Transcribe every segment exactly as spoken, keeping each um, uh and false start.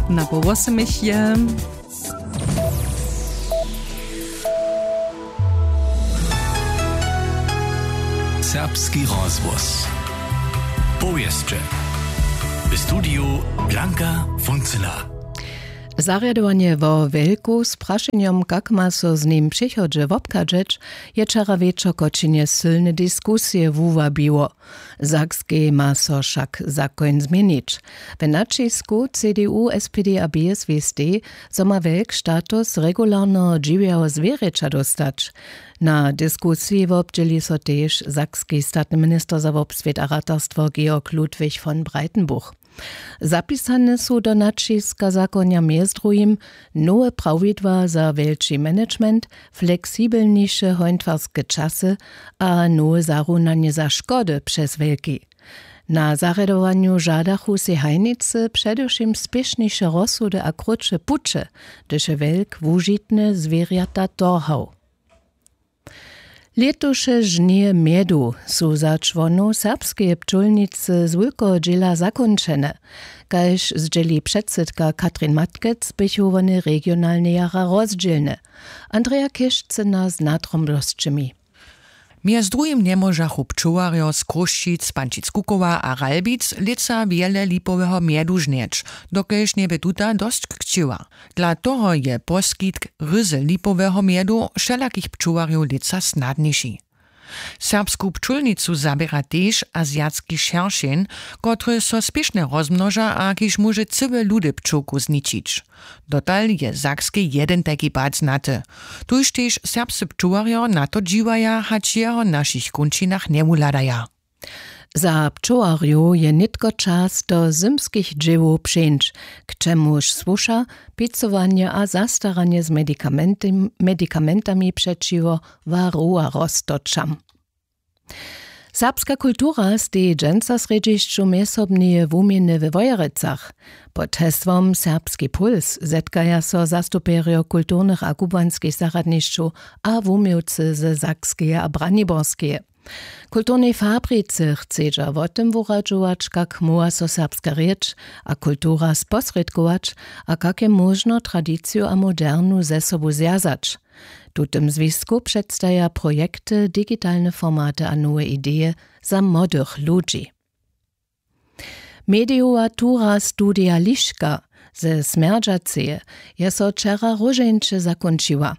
Na połosemich je serbski rozhłos. Powěsće. W studiju Blanka Funcyna. Zarjadowanje wo wjelku z prašenjom, kak ma so z nim w přichodźe wobchadźeć, je wčera wječor w Kočinje sylne diskusije wuwabiło. W Sakskej ma so wšak zakoń změnić. W naćisku C D U, S P D a B S W S D, zo ma wjelk status regularneho dźiwjeho zwěrjeća dóstać. Na diskusiji wobdźěli so tež sakski statny minister za wobswět a ratarstwo Georg Ludwig von Breitenbuch. Zapisane su do naćiska zakonja mjez druhim nowe prawidła za wjelči management, fleksibelniše hontwarske časy a nowe zarunanje za škody přez wjelki. Na zarjadowanju žadachu sej hajnicy předewšěm spěšniše rozsudy a krótše puće, hdyž je wjelk wužitne zwěrjata torhał. Lětuše žnije mjedu su za čłonow serbskeje pčólnicy z wulkeho dźěla zakónčene. Kaž zdźěli předsydka Katrin Matkec, běchu wone regionalnje jara rozdźělne. Andrea Chěšcyna z nadrobnosćemi. Mjez druhim njemóžachu pčołarjo z Chrósćic, Pančic-Kukowa a Ralbic lětsa wjele lipoweho mjedu žnjeć, dokelž njebě tuta dosć chćěła. Dla toho je poskitk ryzy lipoweho mjedu wšelakich pčołarjow lětsa snadniši. Serbsku pčólnicu zaběra tež azijatski šeršeń, kotryž so spěšnje rozmnoža a kiž móže cyłe ludy pčołkow zničić. Dotal je w Sakskej jedyn tajki pad znaty. Tuž tež serbscy pčołarjo na to dźiwaja, hač jeho w našich kónčinach njewuhladaja. Za pčołarjow je nětko čas do zymskich dźěłow přeńć, k čemuž słuša pěcowanje a zastaranje z medikamentim-, medikamentami přećiwo warowarostorčam. Serbska kultura steji dźensa w srjedźišću mjezsobneje wuměny we Wojerecach. Pod hesłom Serbski puls zetkaja so zastupjerjo kulturnych a kubłanskich zarjadnišćow a wuměłcy ze Sakskeje a Braniborskeje. W kulturnej fabrice chcedźa wo tym wuradźować, kak móhła so serbska rěč a kultura sposrědkować a kak je móžno tradiciju a modernu ze sobu zwjazać. W tutym zwisku předstaja projekty, digitalne formaty a nowe ideje za młodych ludźi. Medijowa tura Studija Liška ze Smjerdźaceje je so wčera róžeńće zakónčiła.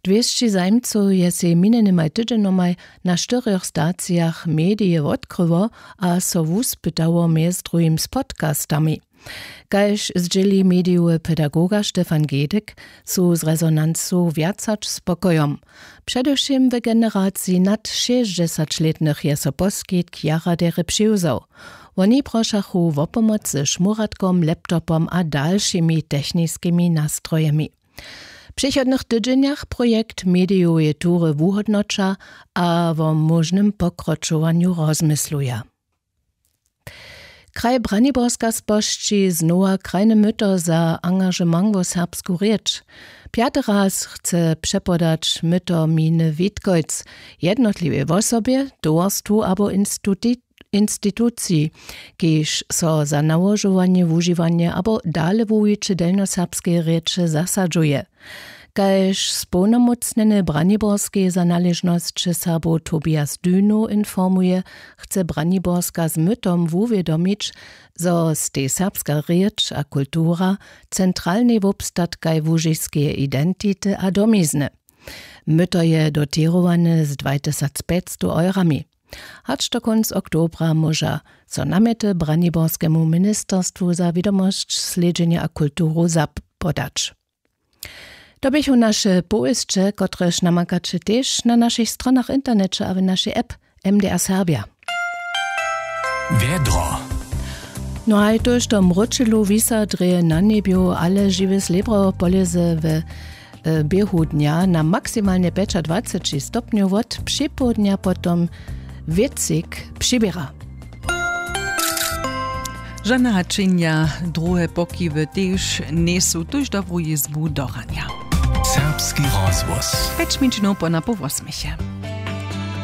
Dwěsći zajimcow je sej minjenymaj tydźenjomaj na štyrjoch stacijach medije wotkryło a so wuspytało mjez druhim z podcastami. Kaž zdźěli medijowy pedagoga Stefan Gedyk, su z rezonancu wjac hač spokojom. Předewšěm w generaciji nad šěsćdźesaćlětnych je so poskitk jara derje přiwzał. Woni prošachu wo pomoc ze šmóratkom, laptopom a dalšimi techniskimi nastrojemi. W přichodnych tydźenjach projekt medijoweje tury wuhódnoća a wo móžnym pokročowanju rozmysluja. Kraj Braniborska spožči znowa krajne myto za angažement wo serbsku rěč. Pjaty raz chce přepodać myto miny Witkojc, jednotliwej wosobje, towarstwu abo institu-, instituciji, kiž so za nałožowanje, wužiwanje abo dale wuwiće delnjoserbskeje rěče zasadźuje. Kaž społnomócnjeny Braniborskeje za naležnosće Serbow Tobias Dünow informuje, chce Braniborska z mytom wuwědomić, zo stej serbska rěč a kultura centralnej wobstatkaj łužiskeje identity a domizny. Myto je dotěrowane z dwajtysacpjećstow eurami. Hač do kónc oktobra móža so namjety Braniborskemu ministerstwu za wědomosć, slědźenje a kulturu zapodać. To běchu naše powěsće, kotrež namakaće tež na našich stronach w interneće a w našej app M D R Serbja. Wjedro. No haj, tójšto mróčelu wisa drje na njebju, ale žiwy slěbro polěze we, e, běhu dnja na maksimalnje pjećadwaceći stopnjow, wot připołdnja potom wětřik přiběra. Žane hačenja, druhe pokiwy tež njejsu, tuž dobru jězbu do ranja. Serbski rozhłos. Pjeć minut po na poł wosmeje.